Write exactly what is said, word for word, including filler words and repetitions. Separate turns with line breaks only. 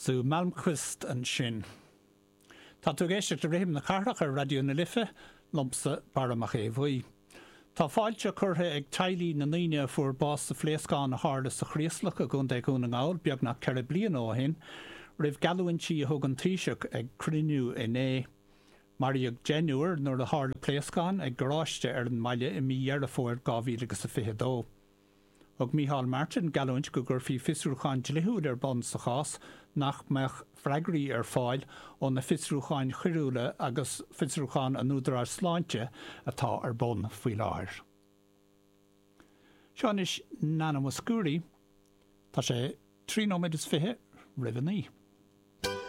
Sue Malmquist ansin. Tá tú ag éisteacht le Rithim na Cathrach ar Raidió na Life, liomsa Barra Mac Aodha Bhuí. Tá fáilte curtha ag teaghlaigh na ndaoine a fuair bás sa phléascán a tharla sa Chraoslach i gContae Dhún na nGall beagnach ceithre bliana ó shin, roimh gheallúintí a thug an Taoiseach ag cruinniú inné. Maraíodh deichniúr nuair a tharla pléascán ag garáiste ar an mbaile i mí Dheireadh Fómhair dhá mhíle agus a fiche dó. Thug Micheál Martin geallúint go gcuirfí fiosrúchán dlíthiúil ar bun sa chás nach mbeadh freagraí ar fáil ó na fiosrúcháin choiriúla agus fiosrúchán an Údaráis Sláinte atá ar bun faoi láthair. Seo anois Nana Mouskouri. Tá sé trí nóiméad is fiche roimh a naoi.